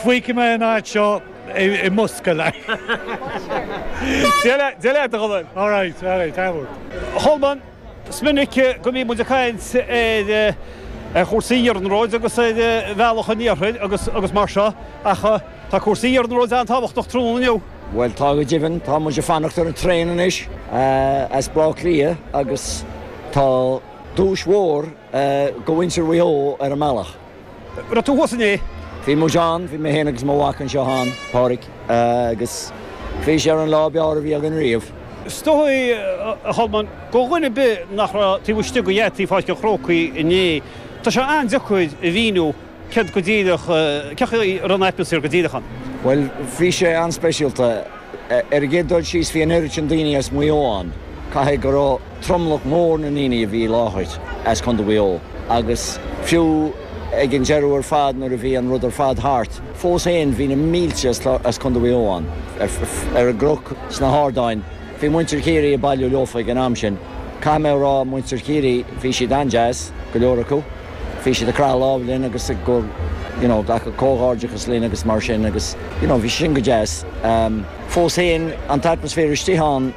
Feicfidh mé an áit seo i mbosca like. Dia leat, a Cholmáin. Alright, alright, tábhacht. A Cholmáin, is minic go mbíonn muid ag caint ar chúrsaí iarnróid agus ar bhealach an iarthair agus mar seo ach tá cúrsaí iarnróid an-tábhachtach tráthnóna inniu. Bhuel, tá go deimhin. Tá muid ag fanacht ar an traein anois as Baile Átha Cliath agus tá duais mhór do mhuintir Mhaigh Eo ar an mbealach. Raibh tú thuas inné? Bhí muid ann, bhí mé féin agus mo mhac anseo ann, Pádraig, agus bhí sé ar an lá ab fhearr a bhí againn riamh. Is dóigh, a Cholmáin, do dhuine ar bith nach raibh taobh istigh de gheataí Pháirc an Chrócaigh inné, tá sé an-deacair a mhíniú céard go díreach, cén chaoi a raibh an atmaisféar go díreach ann. Bhuel, bhí sé an-speisialta. Ar an gcéad dul síos, bhí an oiread sin daoine as Maigh Eo ann. Caithfidh go raibh tromlach mór na ndaoine a bhí i láthair as Contae Mhaigh Eo agus fiú ag an deireadh ar fad nuair a bhí an rud ar fad thart, fós féin bhí na mílte as Contae Mhaigh Eo ann, ar an gcnoc, sna hardáin. Bhí muintir Chiarraí ag bailiú leofa ag an am sin. Caithfidh mé a rá, muintir Chiarraí, bhí siad an-deas, go leor acu. Bhí siad ag croitheadh lámh linn agus ag you know glacadh comhghairdeachas linn agus mar sin agus you know bhí sin go deas. Fós féin, an t-atmaisféar istigh ann,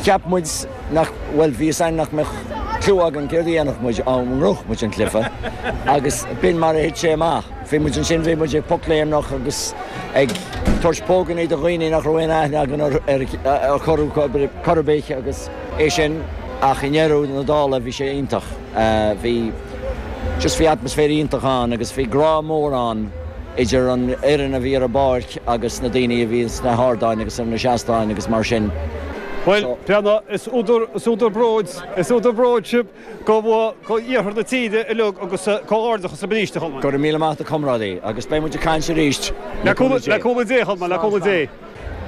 cheap muid nach, bhuel bhí fhios a'inn nach mbeadh cliú againn céard a dhéanfadh muid dá ngnóthódh muid an cluiche agus b'in mar a thit sé amach. Bhí muid ansin, bhí muid ag pocléimneach agus ag tabhairt póganna do dhaoine nach raibh aon aithne againn ar chor ar bith agus é sin ach i ndeireadh na dála bhí sé iontach. Bhí just bhí atmaisféar iontach ann agus bhí grá mór ann idir an fhoireann a bhí ar an bpáirc agus na daoine a bhí sna hardáin agus ar na seastáin agus mar sin. Bhuel, Breandán, is údar, is údar bróid, is údar bróid sibh go bhfuil, go iarthar na tíre uilig agus comhghairdeachas libh arís, a Cholmáin. Go raibh míle maith agat a chomrádaí agus beidh muid ag caint arís le cúnamh Dé. Le cúnamh Dé, a Cholmáin, le cúnamh Dé.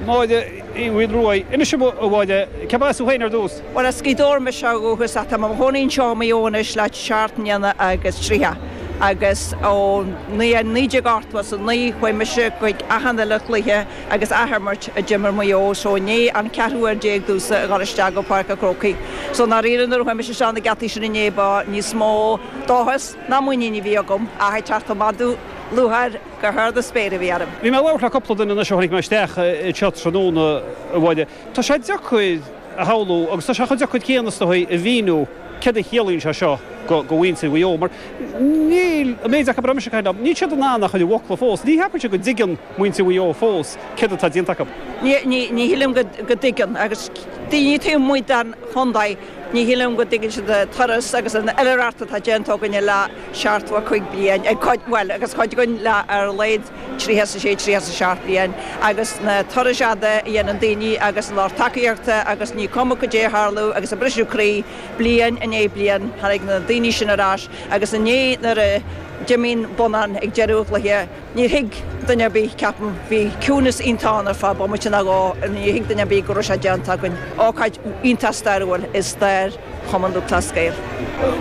Máire Uí Mhaoilruaidh. Inis dom, a Mháire, cérb as thú féin ar dtús? Bhuel, as Gaoth Dobhair mise ó dhúchas ach tá mé i mo chónaí anseo i Maigh Eo anois le seacht mbliana agus 30 agus ó 1989 chuaigh mise chuig achan uile chluiche agus athimirt a d'imir Maigh Eo so inné an ceathrú uair déag domhsa a dhul isteach go Páirc an Chrócaigh. So i ndáiríre nuair a chuaigh mise isteach na geataí sin inné ba níos mó dóchas ná muinín a bhí agam ach ag teacht ón madadh lúcháir go hard na spéire a bhí orm. Bhí mé ag labhairt le cúpla duine anois ó tháinig mé isteach anseo tráthnóna, a Mháire. Tá sé deacair a shamhlú agus tá sé chomh deacair céanna is dóigh a mhíniú céard a chiallaíonn sé seo do mhuintir Mhaigh Eo mar níl, an méid acu a raibh mise ag caint leo, níl siad in ann a chur i bhfocla fós. Ní cheapaimse go dtuigeann muintir Mhaigh Eo fós céard atá déanta acu. Ní shílim go dtuigeann agus daoine taobh amuigh den chontae, ní shílim go dtuigeann siad an turas agus an oilithreacht atá déanta againne le 75 bliain, ag cuid, bhuel, agus cuid againn le ar a laghad 36, 37 bliain, agus na turais fhada a dhéanann daoine agus an lucht tacaíochta agus ní cuma cad é a tharlódh agus an briseadh croí, bliain i ndiaidh bliain, tháinig na daoine sin ar ais agus inné nuair a d'imigh an bonnán ag deireadh an chluiche, níor thuig duine ar bith, ceapaim, bhí ciúnas iontach ann ar feadh bomaite nó dhó, níor thuig duine ar bith go raibh sé déanta againn. Ócáid iontach stairiúil i stair Chumann Lúthchleas Gael.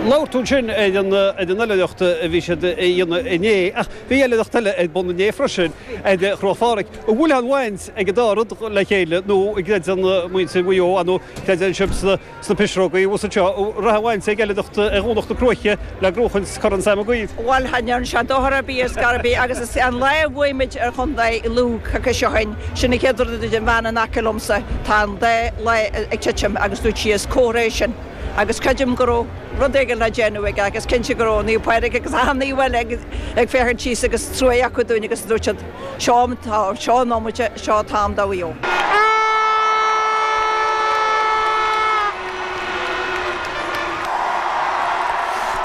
Labhair tú ansin ar an oilithreacht a bhí siad a dhéanamh inné, ach bhí oilithreacht eile ar bun inné freisin ar Chnoc Phádraig. An bhfuil aon bhaint ag an dá rud le chéile nó an gcreideann muintir Mhaigh Eo, nó creideann sibh sna pisreogaí thuas anseo, an raibh aon bhaint ag oilithreacht ar Dhomhnach na Cruaiche le gnóchaint Chorn Sam Maguire? Bhuel, cha ndearna sé dochar ar bith ar scor ar bith agus is an lá a bhuaigh muid ar chontae Lú coicís ó shin, sin an chéad rud a dúirt an bhean in aice liomsa, tá an dá lá ag titim agus dúirt sí is comhartha é sin agus creidim go raibh rud éigin le déanamh aige agus cinnte go raibh Naomh Pádraig agus achan naomh eile ag féachaint síos agus truaigh acu dúinn agus dúirt siad seo an t-am, seo an nóiméad, seo an t-am do Mhaigh Eo.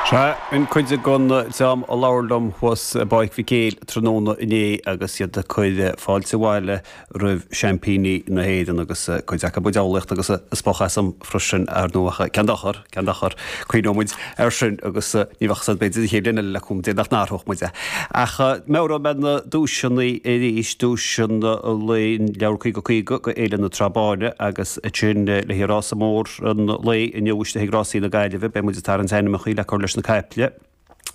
Sea, in cuid den dream a labhair liom thuas i bPáirc Mhic Éil tráthnóna inné agus iad ag cur fáilte abhaile roimh seaimpíní na hÉireann agus cuid acu ag diabhlaíocht agus ag spochadh asam freisin, ar ndóigh, ach cén dochar, cén dochar, cuimhneoidh muid air sin agus ní bheadh a fhios agat b'fhéidir an chéad bhliain eile le cúnamh Dé nach n-athródh muid é. Ach meabhróidh mé na duaiseanna arís, duaiseanna lae Leabhar 50 50 go Fhéile na Trá Báine agus ansin le haghaidh rása mór an lae inniu istigh ag Rásaí na Gaillimhe, beidh muid ag tarraingt ainmneacha le cur leis na caiple.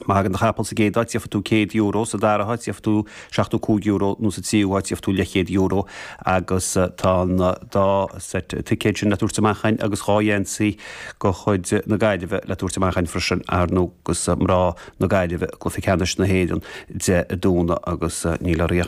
Má thagann do chapall sa gcéad áit, gheobhaidh tú €100, sa dara háit, gheobhaidh tú €75 nó sa tríú háit, gheobhaidh tú leathchéad euro. Agus tá an dá seit ticéad sin le tabhairt amach againn agus dhá gheansaí de chuid na Gaillimhe le tabhairt amach againn freisin, ar ndóigh, agus mná na Gaillimhe i gcluiche ceannais na hÉireann Dé Domhnaigh agus níl oraibh ach.